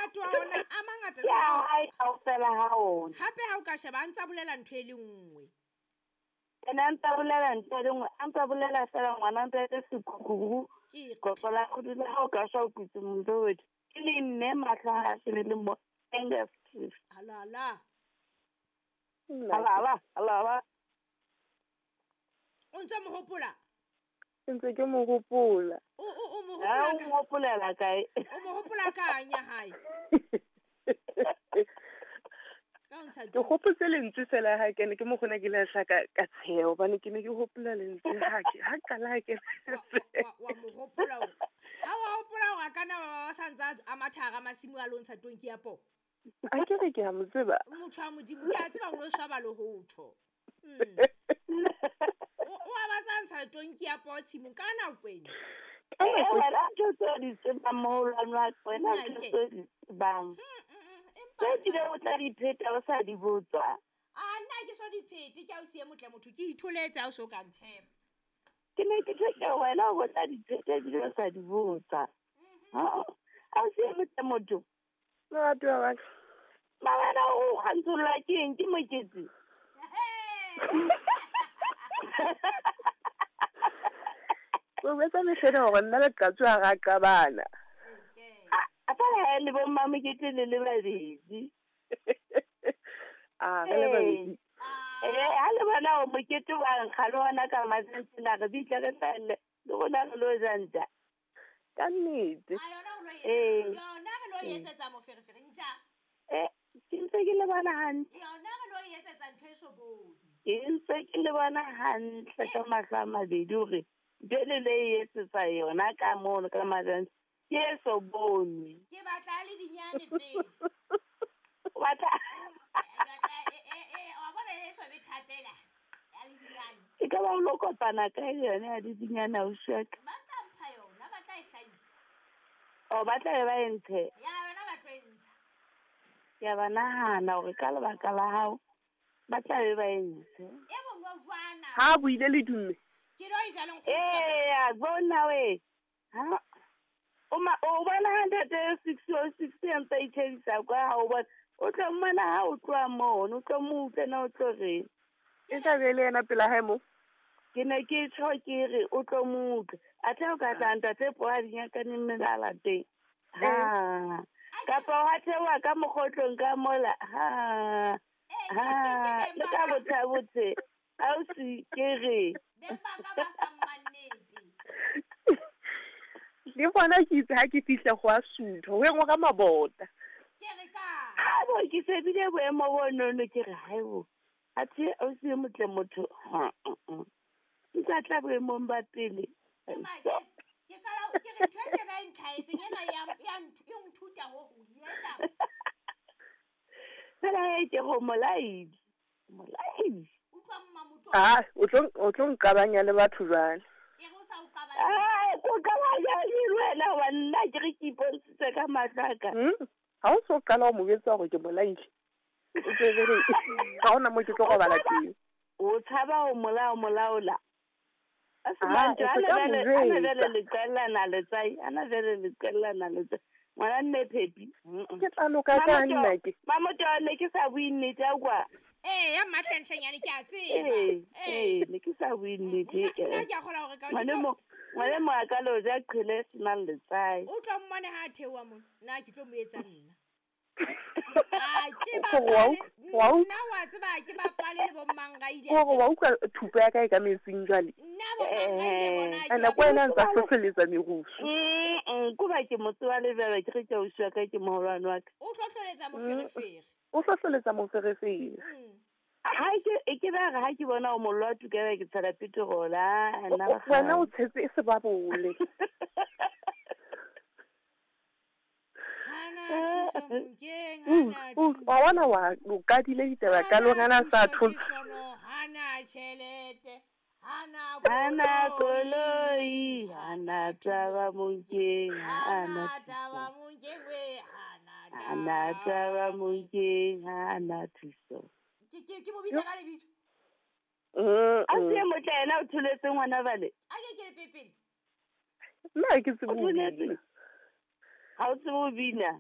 Monate wa ona a mangata Ke le a ha- hae kaofela ha ona. Hape ha o ka sheba a ntsa bolela ntho e le nngwe. Ene a ntsa bolela ntho e le nngwe, a ntsa bolela fela ngwana ntate sekhukhukhu. Ke Qoqo la kgudu la hao ka shwa o kutse motho. Ke le mme mahlo ha a shebe le mo anger stress. Halala. Nna Alala, alala. O ntse mo hopola? Ke ntse ke mo hopola. O mo Ha hopola o ka mo hopolela kae? O mo hopola ka eng ya hae? Ka o ntsha Ke hopotse lentswe fela ha ke ne ke mo kgona ke lahla ka tsheho hobane ke ne ke hopola lentswe ha ke ha qala ha ke wa mo hopola hore ha wa hopola hore a kana wa sa ntsa a matha hara masimo a lo ntsha tonki ya poo. A ke re ke a mo tseba. Motho wa Modimo ke a tseba o lo shaba le ho tjho. O a ba tsa ntsha tonki ya poo tshimong ka nako ena. Eh, wena ntho tseo di tsebang moholwane wa ka, wena Nna ntho ke. tseo di tsebang. Empa Tse ebile o tla di pheta o sa di botswa. A nna ke so di phete ke a o siye motle motho ke itholetse ha o so ka ntsheba. Ke ne ke tjho ke wena o tla di pheta ebile o sa di botsa. Ha o siye motle motho. Lerato wa ka. Mabana o kgantsolla ke eng ke mokete? O etsa mehlena hore nna le Qatso ha ra qabana. A fela ha le bo mmamokete le le babedi. A re le babedi. Ha le bona hore mokete wa nkga le hona ka matsatsi re bitle re hlahelle le rona re lo ja ntja. Ka nnete. A yona re lo etsetsa. Yona re lo etsetsa moferefere ntja. Ke ntse ke le bona hantle. Yona re lo etsetsa ntho e so bone. Ke ntse ke le bona hantle ka mahlo a mabedi hore jwale le e etsetsa yona ka mono ka matsatsi ke e so bonwe. Ke batla le dinyane pele. O batla Wa bona e so be thatela. Ya le dinyane. E ka ba o lo kopana kae le yona ya dinyane ausi wa ka? Ba tla mpha yona, ba tla e hlahisa. O ba tla be ba e ntshe? Ya yona ba tlo e ntsha. Ke a ba nahana hore ka lebaka la hao ba tla be ba e ntshe. E bonojwana. Ha buile le dumme. Ke lo e jaleng go. Eh, bona we. Ha o ma o bona ha ntate 606 ya ntse itshedisa kwa ha o bona. O tlo mmona ha o tloha mono, o tlo mo utlwe na o tlo reng. E tla be le yena pela hae mo. Ke ne ke tjho ke re o tlo mo utlwe. Athe o ka tla ntate po a dinyakane melala teng. Ha. Kapa wa theoha ka mokgotlong ka mola. Ha. Ha. Le ka botha botse. Ausi ke re. Beng ba ka ba sa mmannete. Le bona ke itse ha ke fihla go a sutha, ho engwa ka mabota. Ke re ka. Ha bo ke shebile boemo bo nono ke re haibo. Athe ausi e motle motho. Ha. Ntsa tla boemong ba pele. Ke maketse. Ke qala ke re ntho e tjena e ntlhaetseng ena ya ntho e nthuta ho hong e etsa. Fela e ke go molaedi. Molaedi. Utlwa mma motho. Ah, o tlo nqabanya le batho jwale. Ke re o sa o qabanya. Ah, ko qabanya le wena wa nna ke re ke ipontshitse ka mahlo a ka. Ha o so qala ho mo jwetsa hore ke molaile. O tsebe re ha hona mo ke tlo robala teng. O tshaba ho molao molaola. A se Ah, mantswe, e ana se ka jwale, mo ana jwetsa. jwale le qellana letswai, ana jwale le qellana letswai. Ngwana mme Phepi. Ke tla loka ka nna ke. Mamoto ne ke sa bue nnete a kwa. Eh, ya mahlenhlenyane ke a tseba. Eh, ne ke sa bue nnete. Nna ke a kgola hore ka Ngwane mo a ka lo ja qhele e senang letswai. O tlo mmone ha a theoha mona. Nna ke tlo mo etsa nna. Ah, ke Gore wa bapale. wa utlwa. Nna wa tseba ke bapale le bo Mmangaile. Gore wa utlwa thupa ya ka e ka metsing jwale. Nna bo Mmangaile bona ke Ene ko wena ntsa hlohleletsa merusu. Ko ba ke motse wa lebelo ke re ke ausi wa ka ke moholwane wa ka. O hlohleletsa moferefere. O hlohleletsa moferefere. Ha ke e ke ba re ha ke bona o mollo wa tuka ke tshela petrol a nna ba Wena o kgale. tshetse e se ba bole. Hana thuso monkeng, hana thuso. Wa bona wa o kadile ditaba ka lona na sa thotse. Hana tjhelete, hana Hana koloi, hana taba monkeng, hana hana taba monkeng we, hana hana taba monkeng, hana thuso. Ke mo bitsa ka lebitso. A se motle yena o tholetse ngwana bale. A ke ke le pepele. Nna ha ke tsebe O ho tholetse. bina. Ha o tsebe ho bina.